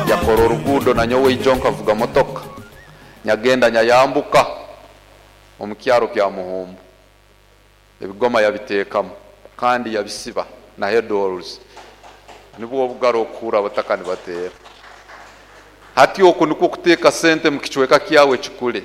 Yakora oruguudo nanyowe ijo nkavuga motoka nyagenda nyayambuka omu kyaro kya Muhumbu. Ebigoma yabiteekamu kandi yabisiba na headwalls. Nibwo obugaro okuhurra abataka nibateera. Hati oku nikwo kuteeka sente mu kicweka kyawe kikule.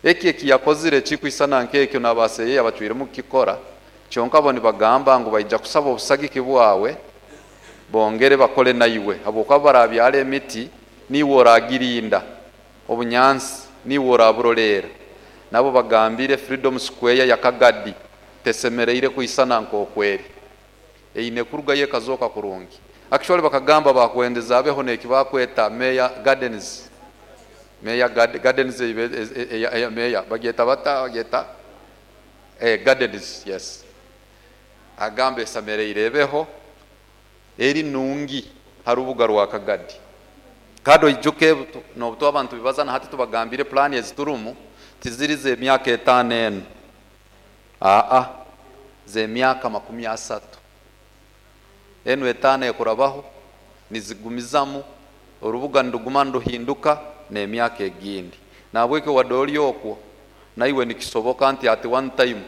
Eki ekiyakozire ekikwisana nk'ekyo n'abaseyeya bacwiremu kukikora, kyonka bo nibagamba ngu baija kusaba obusagiki bwawe bongere bakole naiwe habwokuba barabyara emiti niiwe oragirinda, obunyansi niiwe oraburoleera. Nabo bagambire Freedom Square ya Kagadi tesemeriire kwisana nk'okweri. Eine kurugayo ekazooka kurungi. Actually bakagamba bakwendeza abeho n'ekibakweta Mayor Gardens. Mayor Gardens eya Mayor bagyeta bata bagyeta Gardens yes. Agamba esemereire ebeho eri nungi ha rubuga rwa Kagadi. Kandi oijuke n'obu abantu bibaza na hati tubagambire pulaani eziturumu tiziri z'emyaka 5 enu. Aa z'emyaka 30. Enu 5 ekurabaho nizigumizamu orubuga niruguma niruhinduka n'emyaka egindi. Nahabwekyo wadde oli okwo naiwe nikisoboka nti at one time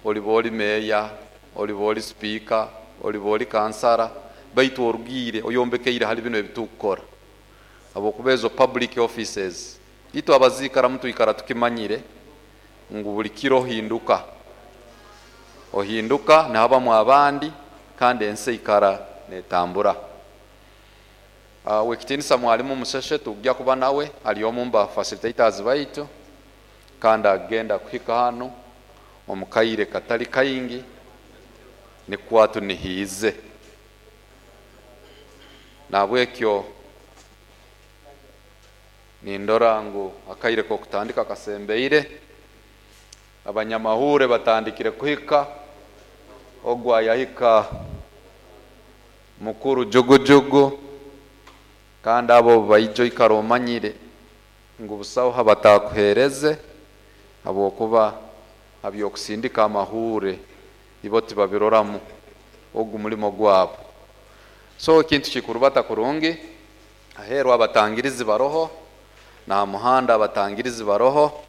oliba oli meeya, oliba oli sipiika, oliba oli kansara, baitu orugiire oyombekeire hali binu ebitukukora. Habwokuba ezo public offices itwe abaziikaramu twikara tukimanyire ngu buli kiro ohinduka. Ohinduka nihabamu abandi kandi ensi eikara netambura. Wekitiinisa mwalimu Musheshe tujja kuba nawe ali omu ba facilitators baitu kandi agenda kuhika hanu omu kaire katali kaingi nikwo tunihiize. Nahabwekyo nindora ngu akaire k'okutandika kasembeire, abanyamahure batandikire kuhika, ogwo ayahika mukuru jugujugu, kandi abo baija oikara omanyire ngu busaho habatakuheereze habwokuba habyokusindika amahure ibo tibabiroramu ogu mulimo gwabo. So ekintu kikurubata kurungi, aheeru abatangirizi baroho, na muhanda abatangirizi baroho,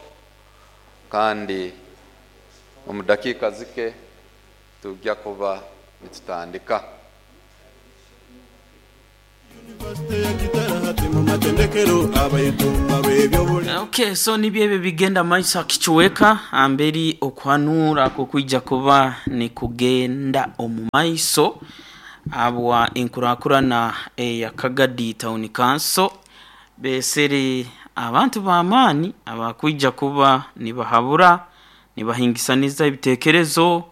kandi omu dakiika zike tujja kuba nitutandika. Okay, so nibyo ebyo bigenda maiso akikiweka amberi okuhanura kukwija kuba nikugenda omu maiso habwa enkurakurana eya Kagadi Town Council besere abantu b'amaani abakwija kuba nibahabura nibahingisaniza ebitekerezo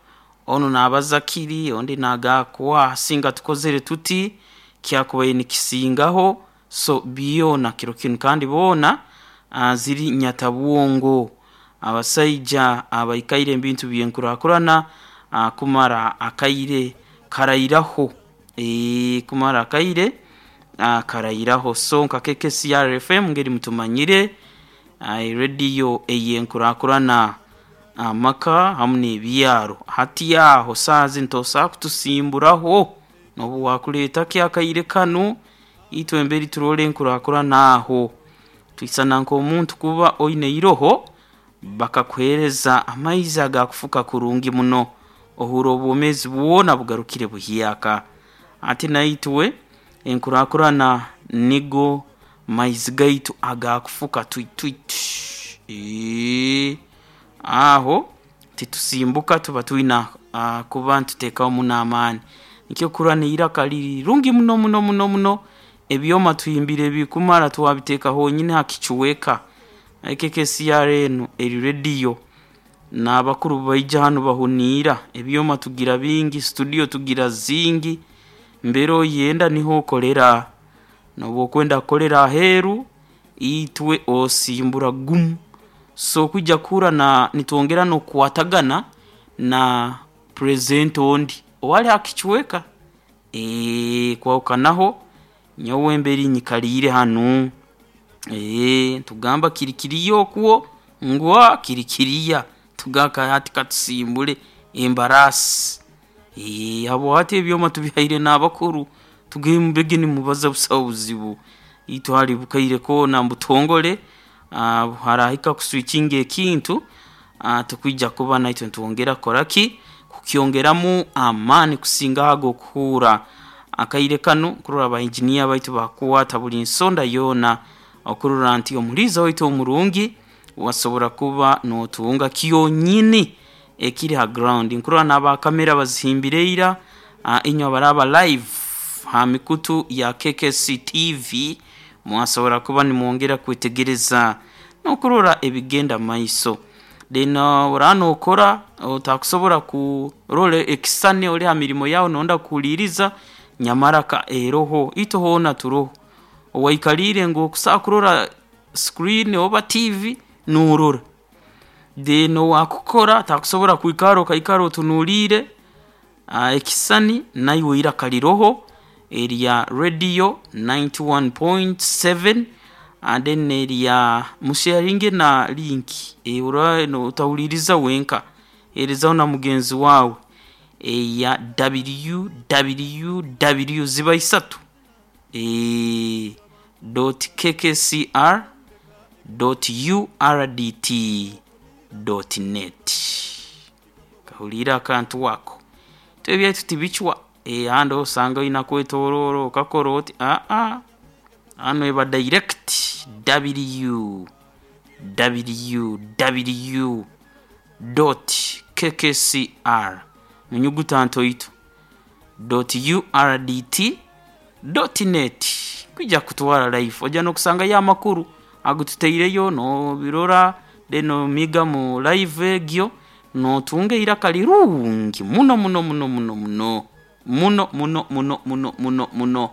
onu nabaza kiri ondi nagakuwa singa tukozere tuti kyakubaire nikisingaho so byona kiro kinu kandi boona ziri nyatabwongo abasaija abaikaire ebintu by'enkurakurana kumara akaire karairaho kumara akaire karairaho. So nka KKCR FM ngeri mutumanyire radio ey'enkurakurana amaka hamu n'ebyaro. Hati aho saaha zinu tosobola kutusimburaho n'obu wakuleeta ki akaire kanu itwe emberi turole enkurakurana aho. Twisana nk'omuntu kuba oine eiroho bakakuheereza amaizi agakufuka kurungi muno ohuura obwomeezi bwona bugarukire buhyaka. Ati naitwe enkurakurana nigo maizi gaitu agakufuka twitwitwi. Aho titusimbuka tuba twina kuba nituteekaho muno amaani. Nikyo okuhurra n'eiraka rirungi muno muno muno muno ebyoma tuhimbire bikumara twabiteeka honyini ha kichweka. KKCR enu eri radio n'abakuru baija hanu bahuniira ebyoma tugira bingi, studio tugira zingi, mbere oyenda niho okolera. N'obu okwenda kukolera aheeru itwe osimbura gumu. So kwija kuhurra nitwongera n'okukwatagana na presenter ondi owali ha kichweka kwahukanaho nyowe mberi nyikaliire hanu nitugamba kiri kiriya okwo ngu kiri kiriya tugamba hati katusimbule embarasi. Habwa hati ebyoma tubihaire n'abakuru. Tugembege nimubaza busaho buzibu. Itwe hali bukaire koona mbutongole, harahika kuswikinga ekintu, tukwija kuba naitwe nitwongera kukora ki? Kukyongeramu amaani kusinga ago okuhuura. Akaire kanu kurora ba engineer baitu bakukwata buli nsonda yoona okurora nti omuliiza waitu omurungi wasobora kuba nootunga kyonyini ekiri ha ground. Nkurora n'aba kamera bazihimbire ira, inywe abaraaba live ha mikutu ya KKC TV mwasobora kuba nimwongera kwetegereza n'okurora ebigenda mumaiso. Then oraaba nookora otakusobora kurora ekisisani ori ha mirimo yaawe noyenda kuhuliiriza, nyamara ka eroho, itwe hoona turoho. Owaikaliire ngu okusobola kurora screen oba TV noorora. Then owaakukora takusobora kwikara okaikara otunuliire ekisisani, naiwe iraka liroho erya radio 91.7 and then n'erya musheyaringe na link oraba otahuliiriza wenka, heerezaho na mugenzi waawe eya www ziba isatu dot kkcr dot urdt dot net. Kahuliire akantu ako. Itwe ebyaitu tibicwa, ahandi osanga oina kwetoroora okakora oti aa, hanu eba direct www dot kkcr munyuguta ntoito dot urdt dot net kwija kutwara live. Oija n'okusangayo amakuru agututaireyo n'obirora then nomiga mu live egyo n'otunga eiraka lirungi muno muno muno muno muno muno muno muno muno muno muno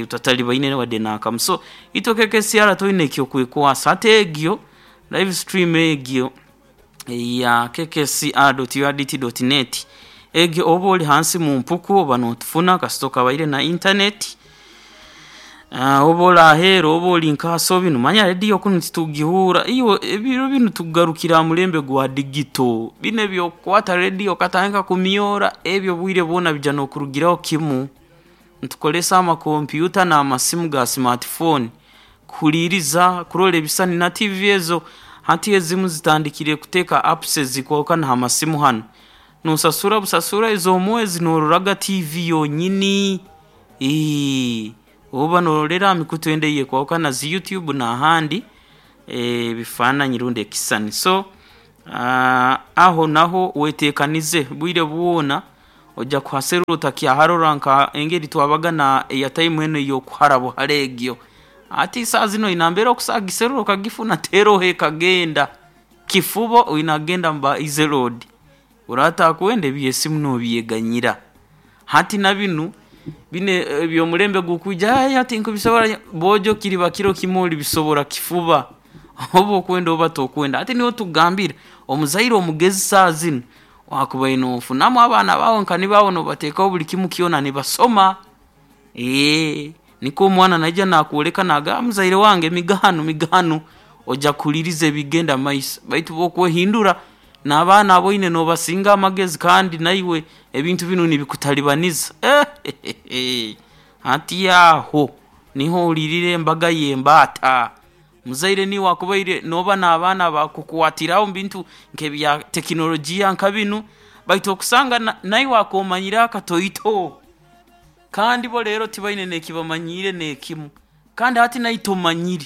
otatalibaine wadde n'akamu. So itwe KKCR toine eky'okwekwasa hati egyo live stream egyo eya kkcr dot urdt dot net egyo oba ori hansi mu mpuku oba nootufuna kasita okabaire na internet, oba ori aheeru oba ori nka manya radio kunu titugihuura. Iwe ebiro binu tugarukire ha mulembe gwa digital, binu eby'okukwata radio okatandika kumyora ebyo obwire bwona biija n'okurugiraho kimu. Nitukozesa amakompyuta n'amasimu ga smartphone kuhuliiriza, kurora ebisisani na TV ezo hati ezimu zitandikire kuteeka apps ezikwahukana ha masimu hanu. Noosasura busasura ez'omwezi noororaga TV yonyini, oba noorolera ha mikutu endi eyeekwahukana zi YouTube n'ahandi ebifaananyi rundi ekisisani. So aho naho weteekanize obwire bwona oija kuhaserra otakyaharora nka engeri twabaga na airtime enu ey'okuhara buhara egyo. Hati saaha zinu oine nambere okusobola kugiserra okagifuna teroho ekagenda. Kifubo oina kugenda mu ba Easy Road, oraaba otakwenda eby'esimu noobyeganyira. Hati na binu, binu eby'omulembe ogukwija hati tinkubisobora, boojo kiriba kiro kimu olibisobora kifuba oba okwenda oba tokwenda. Hati nyowe tukugambira omuzaire omugezi saaha zinu waakubaire noofunamu abaana baawe nka nibo abo noobateekaho buli kimu kyona nibasoma, nikwo omwana naija naakwoleka naagamba muzaire wange miga hanu miga hanu, oija kuhuliiriza ebigenda mumaiso baitu obu okwehindura n'abaana aboine noobasinga amagezi kandi naiwe ebintu binu nibikutalibaniza hati aho niho ohuriirira embaga y'embaata. Muzaire niiwe waakubaire nooba n'abaana bakukwatiraho omu bintu nk'ebya tekinologiya nka binu baitu okusanga naiwe akoomanyire akatoito kandi bo leero tibaine n'ekibamanyiire n'ekimu kandi hati naiwe tomanyire.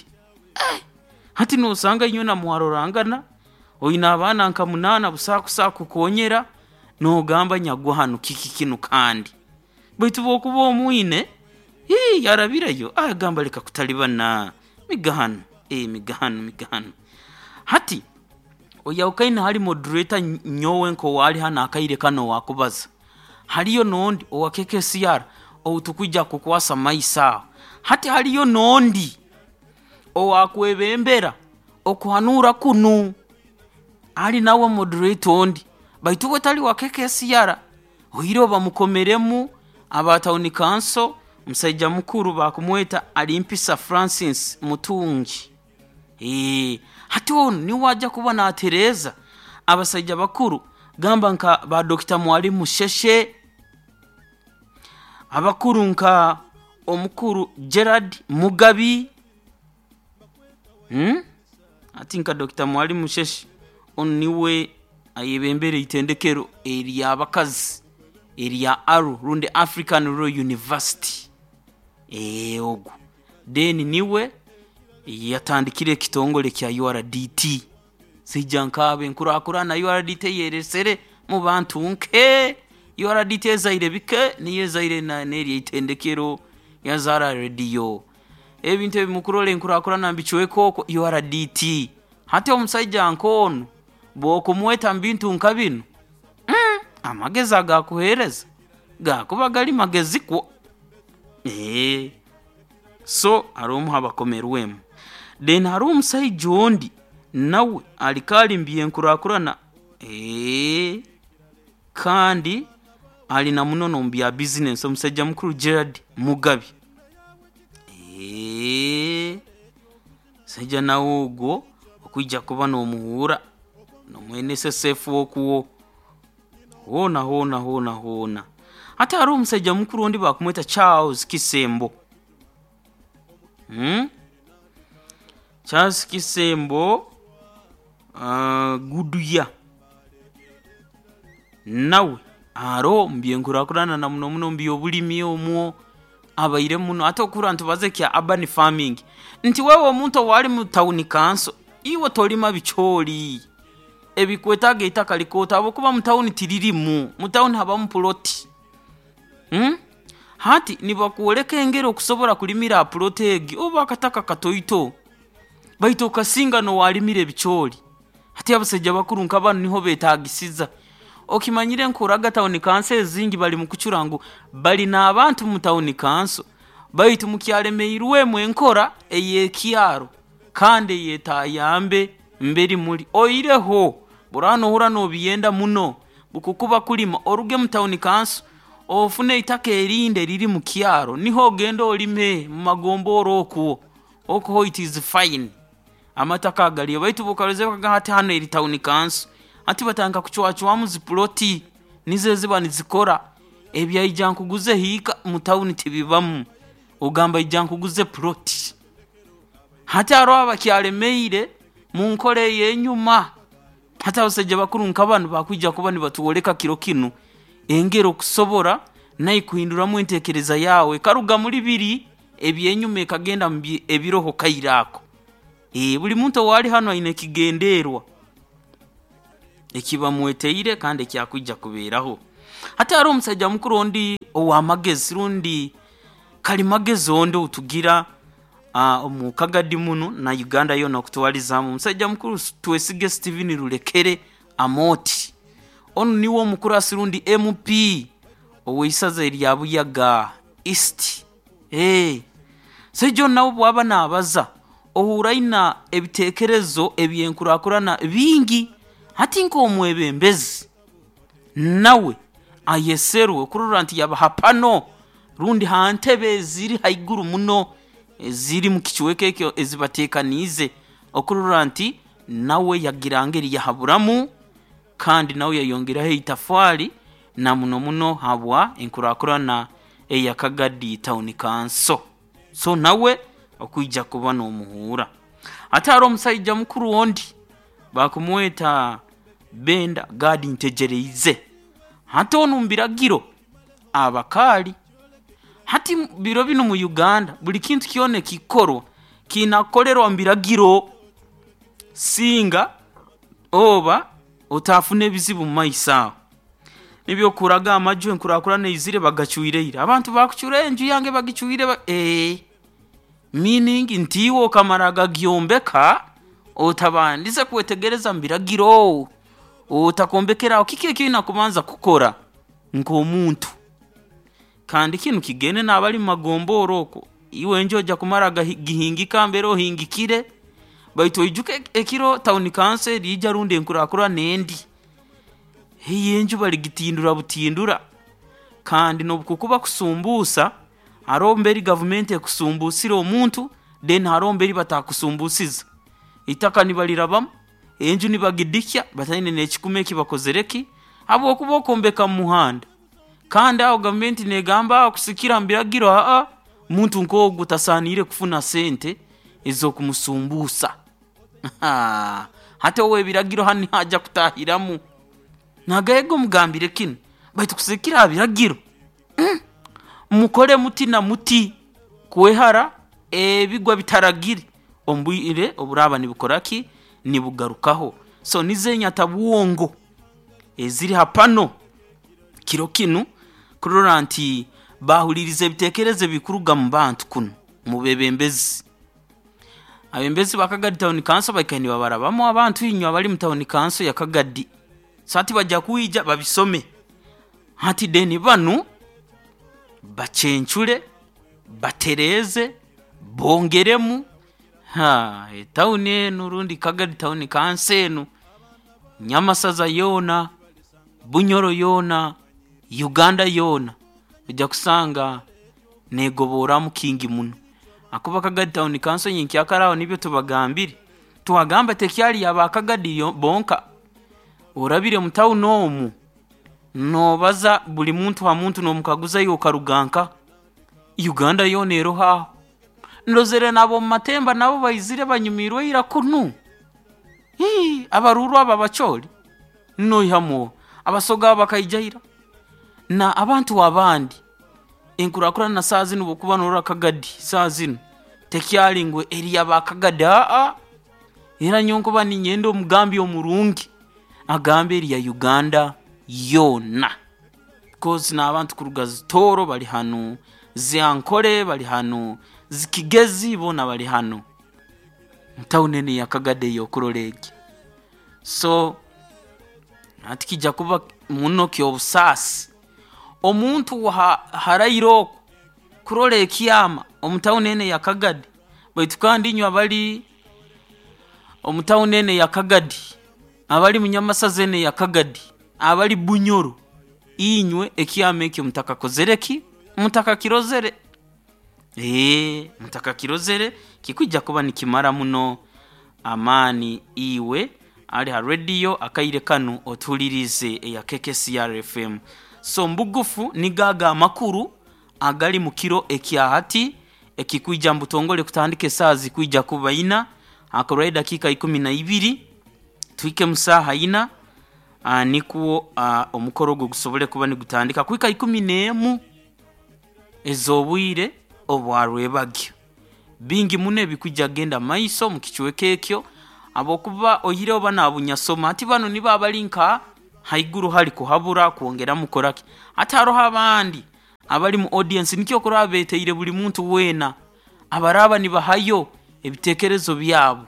Hati noosanga inywena mwarorangana, oine abaana nka munaana busaho akusobola kukukonyera, noogamba nyagwa hanu kiki kinu kandi? Baitu obu okuba omwine, yarabireyo agamba leka kutalibana, miga hanu, miga hanu, miga hanu. Hati oyaahukaine hali moderator nyowe nk'owaali hanu akaire kanu owaakubaza, haliyo n'ondi owa KKCR ou tukwija kukwasa mumaiso aho. Hati haliyo n'ondi owaakwebembera okuhanuura kunu, ali nawe moderator ondi baitu uwe tali wa KKCR, oihireho bamukomeremu aba town council, musaija mukuru bakumweta Alimpisa Francis Mutungi. Hati onu niwe aja kuba naatereeza abasaija bakuru gamba nka ba Dokita Mwalimu Sheshe, abakuru nka. omukuru Gerard Mugabi, Ati nka Dr. Mwalimu Sheshi, onu niwe ayebembere itendekero ery'abakazi erya ARU rundi African Rural University. Ogu then niwe yatandikire ekitongole kya URDT. Saija nkaabo enkurakurana URDT eyeresere mu bantu nke. URDT ezaire bike, niyo ezaire n'eryo itendekero, yazaara rediyo. Ebintu ebi mukurora enkurakurana mbicweka okwo URDT. Hati omusaija nk'onu bw'okumweta mu bintu nka binu, amagezi agakuheereza gakuba gali magezi kwo. So hariho omu abakomerwemu. Then hariho omusaija ondi nawe alikaali mu byenkurakurana, kandi ali na muno n'omu bya bizinesi, omusaija mukuru Gerard Mugabi. Omusaija nawe ogwo okwija kuba n'omuhuura n'omu NSSF okwo hoona hoona hoona hoona. Hati hariho omusaija mukuru ondi bakumweta Charles Kisembo. Charles Kisembo, Guduya nawe hariho omu byenkurakurana na muno muno omu by'obulimi omwo abaire muno. Hati okuhurra nitubaza ekya urban farming, nti wewe omuntu owaali mu town council, iwe tolima bicoori ebikwetaaga eitaka likooto habwokuba mu tawuni tiririmu, mu tawuni habamu puloti. Hati nibakwoleka engeri okusobora kulimira ha puloti egi oba akataka katoito, baitu okasinga n'owalimire ebicoori. Hati abasaija bakuru nka banu niho beetaagisiza. Okimanyire nkoraga tawuni kanso ezingi bali mu kucura ngu bali n'abantu mu tawuni kanso, baitu mukyalemeirwemu enkora ey'ekyaro kandi ey'etayambe mberi muli. Oihireho buraaba noohurra noobyenda muno, bukukuba kulima oruge mu tawuni kanso ofune eitaka erindi eriri mu kyaro, niho ogende olime mu magombora okwo, okwo it is fine. Amataka galiyo baitu bw'okarozere bakagamba hati hanu eri tawuni kanso, hati batandika kucwacwamu zipuloti nizo eziba nizikora, ebyaija nkuguze hiika mu tawuni tibibamu, ogamba ija nkuguze puloti. Hati hariho abakyalemeire mu nkora ey'enyuma. Hati abasaija bakuru nka banu bakwija kuba nibatwoleka kiro kinu engeri okusobora nawe kuhinduramu enteekereza yaawe ekaruga muri biri eby'enyuma ekagenda mu ebiroho kaire ako. Buli muntu owaali hanu aine ekigenderwa ekibamweteire kandi ekyakwija kubeeraho. Hati hariho omusaija mukuru ondi ow'amagezi rundi kalimagezi ondi ou tugira omu Kagadi munu na Uganda yoona okutwaliza hamu, omusaija mukuru Twesige Steven Rurekere Amooti. Onu niwe omukurasi rundi MP ow'eisaza erya Buyaga East. Omusaija onu nawe bw'aba naabaza ohuura aina ebiteekerezo eby'enkurakurana bingi. Hati nk'omwebembezi nawe ayeserwe okurora nti yaba ha pano rundi ha ntebe eziri haiguru muno eziri mu kicweka ekyo ezibateekaniize okurora nti nawe yagira ngeri yahaburamu kandi nawe yayongeraho eitafaali na muno muno habwa enkurakurana eya Kagadi Town Council. So nawe okwija kuba n'omuhuura. Ate hariho omusaija mukuru ondi bakumweta Benda Gad Ntegyereize. Hati onu mu biragiro abakaali. Hati biro binu mu Uganda buli kintu kyona ekikukorwa kiina kukolerwa mu biragiro singa oba otaafuna ebizibu mu maiso aho. Nibyo okuraga amaju enkurakurana eizire bagacwire ira. Abantu bakucura enju yange bagicwire meaning nti iwe okamara gagyombeka otabandize kwetegereza mu biragiro, otakombekere aho. Kiki eki oina kubanza kukora nk'omuntu? Kandi kinu kigende n'abali mu magombora okwo. Iwe enju oija kumara gihingika mbere ohingikire, baitu oijuke ekiro tawuni kanso eriija rundi enkurakurana endi, eyo enju baligitindura butindura. Kandi n'obukukuba kusumbuusa, haroho mberi gavumenti ekusumbuusire omuntu, then haroho mberi batakusumbuusize. Eitaka nibarirabamu, enju nibagidikya bataine n'ekikumi eki bakozere ki, habwokuba okombeka mu muhanda. Kandi aho gavumenti neegamba aho kusigikirra mu biragiro aa, Muntu nk'ogu tasaaniire kufuna sente ez'okumusumbuusa. Hati ow'ebiragiro hanu niho aja kutaahiramu. Nagamba mugambire kinu, baitu kusigikirra ha biragiro, mukole muti na muti kwehara ebigwa bitaragire omu bwire oburaaba nibukora ki? Nibugarukaho. So nizo enyatabwongo eziri ha panel kiro kinu kurora nti baahuliiriza ebiteekerezo ebikuruga mu bantu kunu mu beebembezi. Abeebembezi ba Kagadi Town Council baikaire nibabarabamu abantu inywe abali mu town council ya Kagadi. So hati baja kwija babisome, hati then banu bacencure, batereeze, bongeremu, haa etawuni enu rundi Kagadi Town Council enu, Nyamasaza yoona, Bunyoro yoona, Uganda yoona, oija kusanga neegoborramu kingi muno habwokuba Kagadi Town Council nyenkyakara aho nibyo tubagambire, twagamba tekyali y'Abakagadi bonka, orabire mu tawuni omu, noobaza buli muntu ha muntu noomukaguza iwe okaruga nkaha? Uganda yoona eroho aho. Ndozere n'ab'omu Matemba nabo baizire banyumiirwe ira kunu, hii Abaruuru abo Abacholi noihamu oha? Abasoga abo bakaija ira, n'abantu abandi. Enkurakurana saaha zinu obu okuba noorora Kagadi saaha zinu tekyali ngu eri y'Abakagadi haa, era nyowe nkuba niinyenda omugambi omurungi agambe eri ya Uganda yoona because n'abantu kuruga Tooro bali hanu, zi Ankole bali hanu, zi Kigezi boona bali hanu mu tawuni enu eya Kagadi ei okurora egi. So hati kiija kuba muno ky'obusaasi omuntu haraire oku kurora ekyama omu tawuni enu eya Kagadi baitu kandi inywe abali omu tawuni enu eya Kagadi, abali mu Nyamasaza enu eya Kagadi, abali Bunyoro, inywe ekyama eki mutakakozere ki? Mutakakirozere. Mutakakirozere, kikwija kuba nikimara muno amaani iwe ali ha radio akaire kanu otuhuliriize eya KKCR FM. So mubugufu nigo ago amakuru agali mu kiro ekya hati ekikwija mu butongole kutandika esaaha zikwija kuba ina, hakurwayo edakiika ikumi na ibiri tuhike mu saaha ina nikwo omukoro ogwo gusobole kuba nigutandika kuhika ikumi n'emu ez'obwire obwa rwebagyo. Bingi muno ebikwija kugenda mu maiso omu kicweka ekyo habwokuba oihireho banu abunyasoma, hati banu nibo abali nka haiguru hari kuhabura, kwongeramu kukoraki. Hati haroho abandi abali mu audience nikyo okurora beeteire buli muntu weena abaraaba nibahayo ebiteekerezo byabo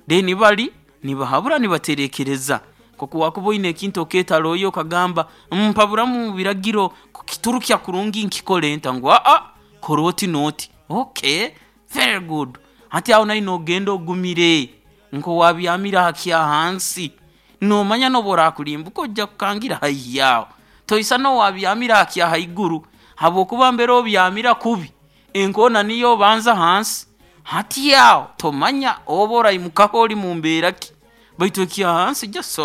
then bari nibahabura nibatereekereza. Nk'oku waakuba oine ekintu okeetara oyo okagamba mpaburamu mu biragiro kukiturukya kurungi nkikole nta? Ngu haa kora oti n'oti, okay very good. Hati aho naiwe noogenda ogumire nk'owaabyamire aha kyahansi, noomanya n'obu oraakulimbuka oija kukangira haihi aho. Toisana owaabyamire aha kyahaiguru habwokuba mbere obyamira kubi, enkoona niyo obanza hansi, hati aho tomanya oba oraimukaho ori mu mbeera ki baitu ekya hansi just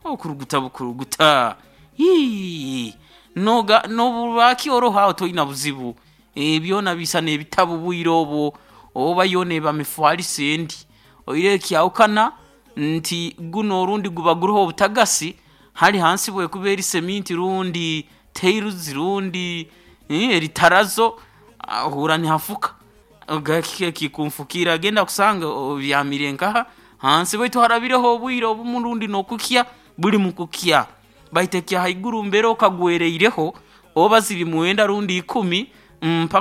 okuruguta bukuruguta hii n'obu oroho aho toina buzibu, byona biisana ebitabu obwire obwo oba yoona eba mifaliso endi. Oihireho ekyahukana nti gunu orundi guba guroho obutagasi, hari hansi bwekuba eri seminti rundi tiles rundi eri tarazo, ohurra nihafuka. Kiki ekikunfukiire agenda kusanga obyamire nkaha? Hansi baitu harabireho obwire obumu rundi n'okukya buli mu kukya baitu ekya haiguru mbere okagwereireho oba ziri mwenda rundi ikumi mpaka.